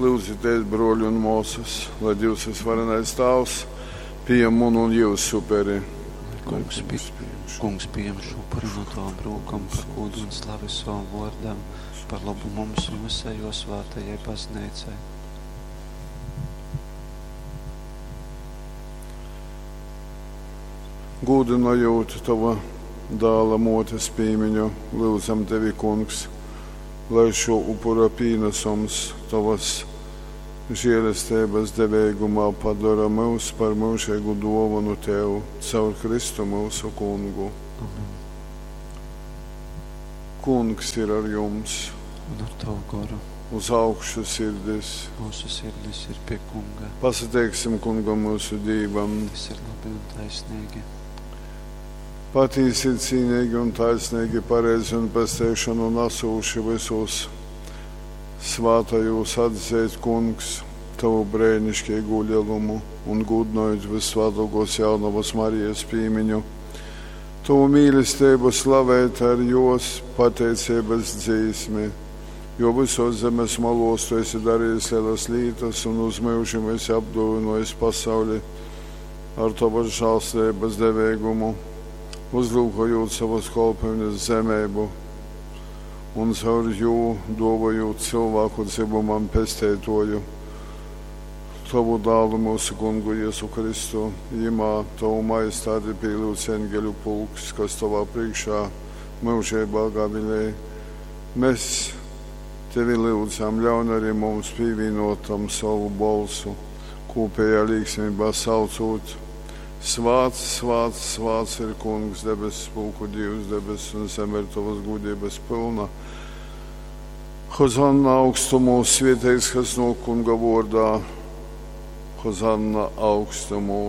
Lyudzitēs, brōļi un mōsas, lai Dīvs vysvarenais Tāvs pījam munu un jyusu uperi. Lai Kungs, pi, kungs pījam šo upuri no tavom rūkom par gūdu un slavi savam vōrdam, par lobu mums un visai jō svātajai bazneicai. Gūdynojūt Tova dāla mōtes pīmiņu, lyudzam Tevi, Kungs, lai šo upura pīnasums Tovas žēlesteibas deveigumā padora myus par myužeigu dōvonu Tev caur Kristu myusu Kungu. Amen. Kungs ir ar jums, Un ar tavu goru uz augšu sirdis. mūsu sirdis ir pie Kunga. Pasateiksim Kungam myusu Dīvam. Tas ir labi un taisnīgi. Patīsi ir cīnīgi un taisnīgi, pareizi un pesteišanu nasūši visos svātajūs atzeit, Kungs, Tavu brēnišķīgo lielumu un gūdinojot vissvētākos jaunavas Marijas pīmiņu. Tavu mīlestību slavēt ar jos pateicības dzīsmi, jo visos zemes malos Tu esi darījis lielas lietas un uz mūžiem esi apdāvinājis pasauli ar Tavas žēlstības devēgumu, uzlūkojot savas kalpošanas zemību un caur jū dāvājot cilvēku dzimumam pesteitoju. Tavu dālu mūsu kungu Jēzu Kristu, jimā tavu majestāti pīlūdz eņģeļu pulks, kas tavā priekšā mūžībā gavilē. Mēs tevi lūdzam, ļaun arī mums pievienotam savu bolsu, kopējā līgsmībā saucot. Svāts, svāts, svāts ir kungs, debesu pulku Dievs, debesis un zeme ir tavas gudrības pilna. Hozanna augstumos, svētīgs, kas no kunga vārdā. Hozanna augstumos.